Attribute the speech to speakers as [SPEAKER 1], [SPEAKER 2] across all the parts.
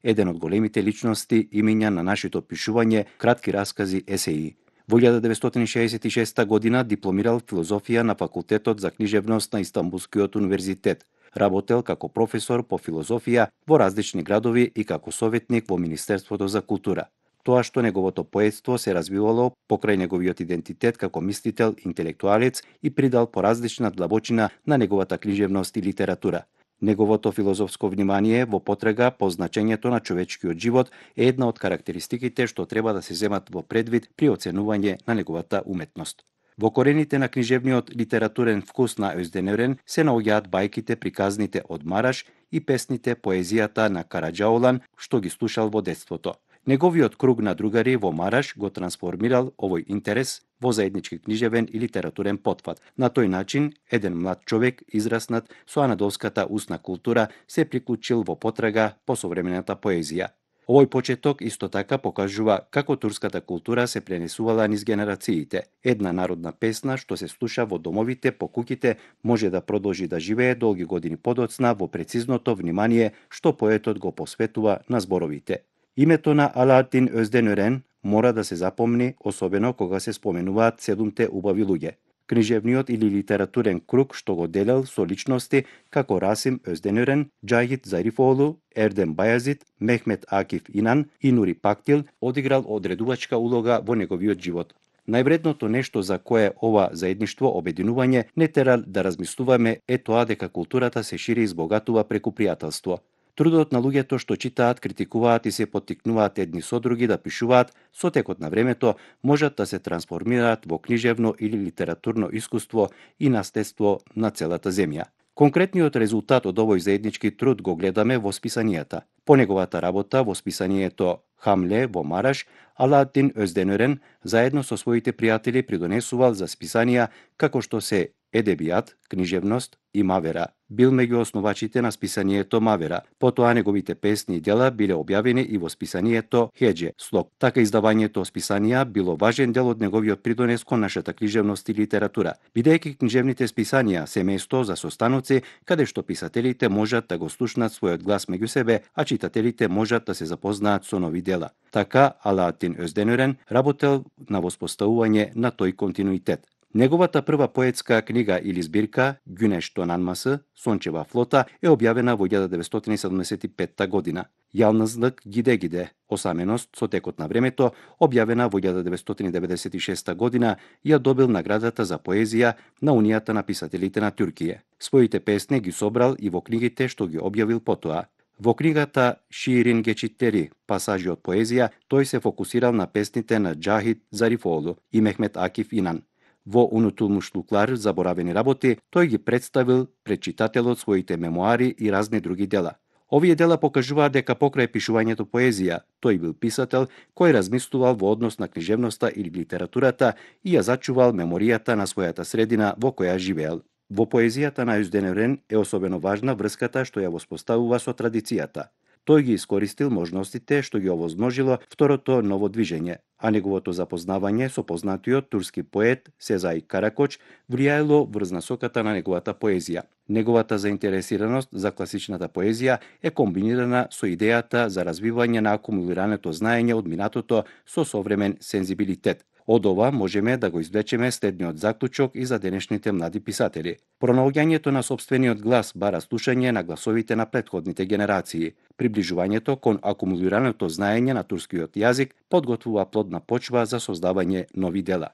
[SPEAKER 1] еден од големите личности имиња на нашето пишување, кратки раскази, есеи. Во 1966 година дипломирал филозофија на факултетот за книжевност на Истанбулскиот универзитет. Работел како професор по филозофија во различни градови и како советник во Министерството за култура. Тоа што неговото поетство се развивало покрај неговиот идентитет како мислител, интелектуалец и придал поразлична длабочина на неговата книжевност и литература. Неговото филозофско внимание во потрага по значењето на човечкиот живот е една од карактеристиките што треба да се земат во предвид при оценување на неговата уметност. Во корените на книжевниот литературен вкус на Özdemir се наоѓаат бајките, приказните од Мараш и песните, поезијата на Караџаолан што ги слушал во детството. Неговиот круг на другари во Мараш го трансформирал овој интерес во заеднички книжевен и литературен потфат. На тој начин, еден млад човек, израснат со анадолската устна култура, се приклучил во потрага по современата поезија. Овој почеток исто така покажува како турската култура се пренесувала низ генерациите. Една народна песна што се слуша во домовите, по куќите, може да продолжи да живее долги години подоцна во прецизното внимание што поетот го посветува на зборовите. Името на Алааддин Özdemir мора да се запомни, особено кога се споменуваат 7 убави луѓе. Книжевниот или литературен круг што го делел со личности како Расим Özdemir, Џахид Зарифоглу, Ердем Бајазид, Мехмет Акиф Инан и Нури Пактил одиграл одредувачка улога во неговиот живот. Највредното нешто за кое ова заедништво обединување не тера да размислуваме е тоа дека културата се шири и збогатува преку пријателство. Трудот на луѓето што читаат, критикуваат и се поттикнуваат едни со други да пишуваат, со текот на времето можат да се трансформираат во книжевно или литературно искуство и наследство на целата земја. Конкретниот резултат од овој заеднички труд го гледаме во списанијата. По неговата работа во списанието Хамле во Мараш, Алааддин Özdemir заедно со своите пријатели придонесувал за списанија како што се Едебијат, книжевност и Мавера. Бил меѓу основачите на списанието Мавера. Потоа неговите песни и дела биле објавени и во списанието Хеџе, слог. Така издавањето списанија било важен дел од неговиот придонес кон нашата книжевност и литература, бидејќи книжевните списанија се место за состаноци каде што писателите можат да го слушнат својот глас меѓу себе, а читателите можат да се запознаат со нови дела. Така Алааддин Özdemir работел на воспоставување на тој континуитет. Неговата прва поетска книга или збирка Güneş Donanması, Сончева флота, е објавена во 1975 година. Јалнызлык Гиде-Гиде, осаменост со текот на времето, објавена во 1996 година, ја добил наградата за поезија на Унијата на писателите на Туркија. Своите песни ги собрал и во книгите што ги објавил потоа. Во книгата Шиирин Geçitleri, пасажи од поезија, тој се фокусирал на песните на Џахид Зарифоглу и Мехмет Акиф Инан. Во Унутулмушлуклар, заборавени работи, тој ги представил пред читателот своите мемоари и разни други дела. Овие дела покажуваат дека покрај пишувањето поезија, тој бил писател кој размислувал во однос на книжевноста или литературата и ја зачувал меморијата на својата средина во која живеел. Во поезијата на Özdemir е особено важна врската што ја воспоставува со традицијата. Тој ги искористил можностите што ги овозможило второто ново движење, а неговото запознавање со познатиот турски поет Сезај Каракоч влијаело врз насоката на неговата поезија. Неговата заинтересираност за класичната поезија е комбинирана со идејата за развивање на акумулираното знаење од минатото со современ сензибилитет. Од ова можеме да го извлечеме следниот заклучок и за денешните млади писатели. Пронаоѓањето на сопствениот глас бара слушање на гласовите на претходните генерации. Приближувањето кон акумулираното знаење на турскиот јазик подготвува плодна почва за создавање нови дела.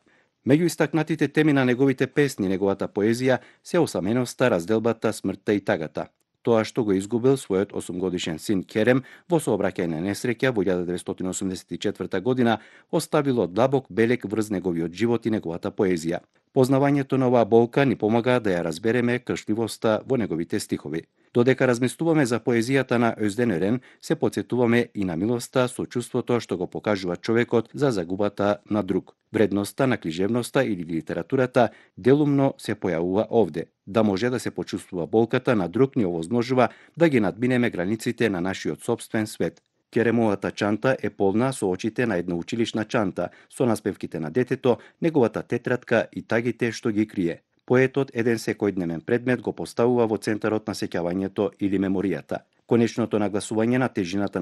[SPEAKER 1] Меѓу истакнатите теми на неговите песни, неговата поезија се осаменоста, разделбата, смртта и тагата. Тоа што го изгубил својот 8-годишен син Керем во сообраќајна несреќа во 1984 година оставило длабок белег врз неговиот живот и неговата поезија. Познавањето на оваа болка ни помага да ја разбереме кршливоста во неговите стихови. Додека размислуваме за поезијата на Özdemir, се потсетуваме и на милоста, сочувството што го покажува човекот за загубата на друг. Вредноста на книжевноста или литературата делумно се појавува овде. Да може да се почувствува болката на друг ни овозможува да ги надминеме границите на нашиот сопствен свет. Керемовата чанта е полна со очите на една училишна чанта, со наспевките на детето, неговата тетрадка и тагите што ги крие. Поетот еден секојдневен предмет го поставува во центарот на сеќавањето или меморијата. Конечното нагласување на тежината на